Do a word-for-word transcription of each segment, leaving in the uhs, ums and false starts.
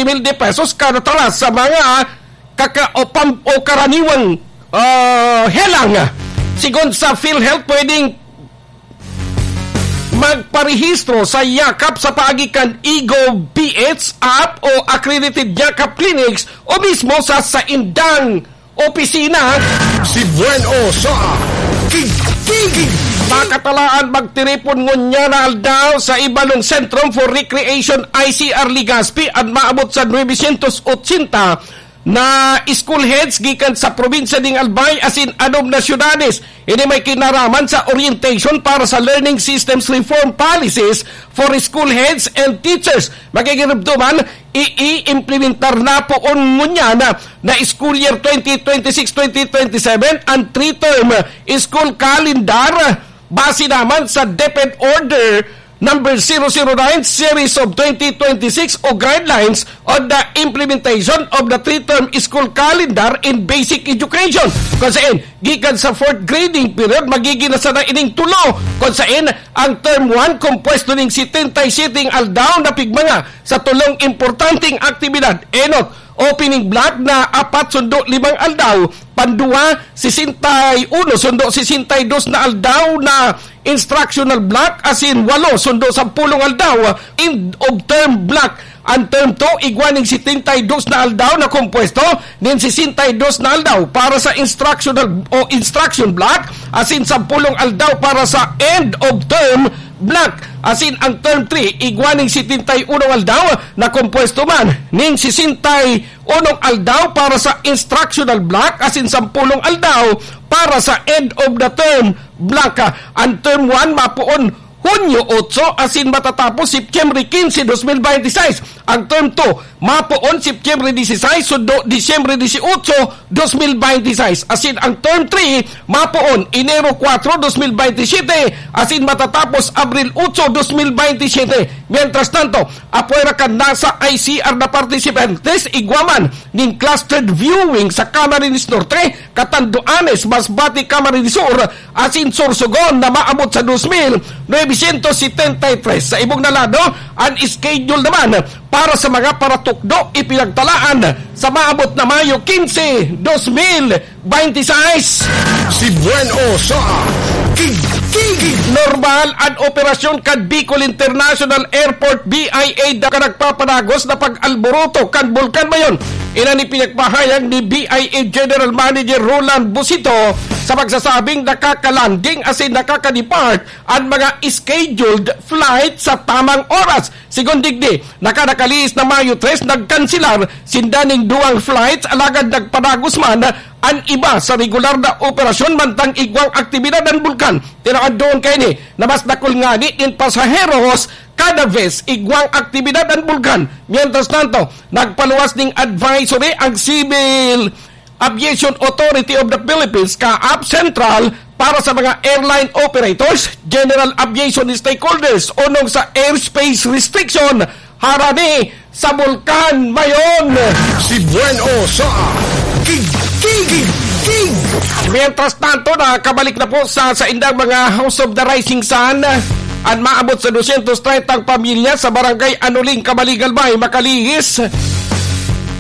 mil de pesos kada talas sa mga kaka-, o pam-, o karaniwang, ah, helang. Sigon sa PhilHealth, pwedeng magparehistro sa Yakap sa paagi kan eGov P H app o accredited Yakap clinics o mismo sa saindang opisina. Si Buen O sa Kig-, Kig-, Kig-, Makatalaan magtiripon ngunyan na aldaw sa Ibalong Centrum for Recreation, I C R, Legazpi, at maabot sa nuebe syentos otsenta na school heads gikan sa probinsya ning Albay asin anom na syudades. Ini may kinaraman sa orientation para sa learning systems reform policies for school heads and teachers. Magigirumduman, i-, i-implementar na poon ngunyan na, na school year twenty twenty-six, twenty twenty-seven ang three-term school calendar base naman sa DepEd Order number zero zero nine series of twenty twenty-six o guidelines on the implementation of the three-term school calendar in basic education. Kung saan, gikan sa fourth grading period, magiging na sana ining tulo. Kung saan, ang term one, kompuesto ning setenta y siete aldaw na pigmanga sa tulong importanteng aktibidad. Enot, opening block na apat sundo limang aldaw, pandua, sesenta y uno sundo sesenta y dos na aldaw na instructional block, asin walo sundo sampulong aldaw, end of term block. Ang term two, igwa ning setenta y dos na aldaw na kompuesto nin sesenta y dos na aldaw para sa instructional o instruction block, asin sampulong aldaw para sa end of term block. Asin ang term three, igwa ning setenta y uno aldaw na kompuesto man nin sesenta y uno aldaw para sa instructional block, asin sampulong aldaw para sa end of the term block. Ang term one mapoon Hunyo otso asin matatapos Setyembre quince, dos mil veintiseis. Ang term two, mapoon Setyembre dieciséis, sundo Disyembre dieciocho, dos mil veintiseis. Asin ang term three, mapoon Enero kuwatro, dos mil veintisiete, asin matatapos Abril otso, dos mil veintisiete. Mientras tanto, apwera kan nasa I C R na participantes, igwa man nin clustered viewing sa Camarines Norte, Catanduanes, Masbate, Camarines Sur, asin Sorsogon na maabot sa dos mil novecientos setenta y tres. Sa ibong na lado, an schedule naman para sa mga paratukdo ipinagtalaan sa maabot na Mayo quince, dos mil veintiseis. Si Buen O sa Kig-, Kig-, Kig-. Normal an operasyon kan Bicol International Airport, B I A, da ka nagpapanagos na pag-alboroto kan Bulkan Mayon. Iyan an ipinagpahayag ni B I A General Manager Roland Busito sa pagsasabing nakakalanding asin nakaka-depart an mga scheduled flight sa tamang oras. Sigon digdi, naka-, nakalihis na Mayo tres, nagkanselar sinda ning duwang flights, alagad nagpadagos man an iba sa regular na operasyon mantang igwang aktibidad an bulkan. Tinawan duon kaini na mas dakul ngani nin pasaheros kada vez igwang aktibidad an bulkan. Mientras tanto, nagpaluwas ning advisory ang Civil Aviation Authority of the Philippines, CAAP Central, para sa mga airline operators, general aviation stakeholders, onong sa airspace restriction harani sa Bulkan Mayon. Si Buen O sa Kig-, Kig-, Kig-, Kig-. Mientras tanto, nakabalik na po sa, sa indang mga House of the Rising Sun an maabot sa dosyentos treyntang pamilya sa Barangay Anuling, Camalig, Albay, makalihis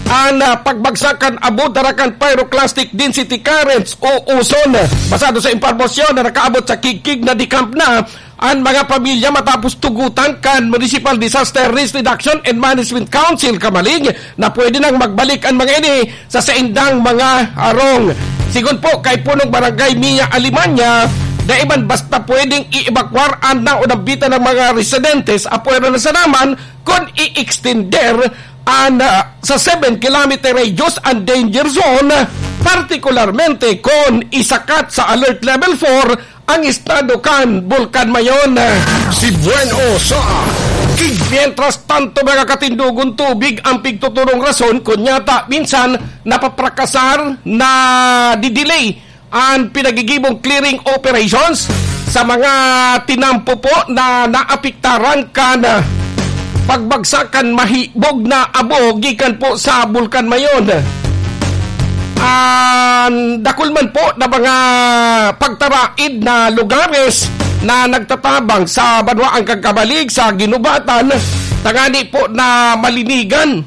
an, ah, pagbagsak kan abo dara kan pyroclastic density currents o uson. Basado sa impormasyon na nakaabot sa Kig-, Kig-, na-decamp na an mga pamilya matapos tugutan kan Municipal Disaster Risk Reduction and Management Council Camalig na pwede nang magbalik an mga ini sa saindang mga harong. Sigon po kay Punong Barangay Mia Alemania, dai man basta pwedeng i-evacuar an naunambitan ng mga residentes, apwera na sana man kun i-extender an, ah, sa seven kilometer radius an danger zone, partikularmente kun isakat sa Alert Level four ang estado kan Bulkan Mayon. Si Buen O sa Kig-. Mientras tanto, mga katindogon, tubig ang pigtuturong rason kun nyata minsan napaprakasan, nadidelay an pinagigibong clearing operations sa mga tinampo po na naapektaran kan pagbagsak kan mahibog na abo gikan po sa Bulkan Mayon. An dakul man po na mga pagtaraid na lugares na nagtatabang sa banwaan kan Camalig, sa Guinobatan, tangani po na malinigan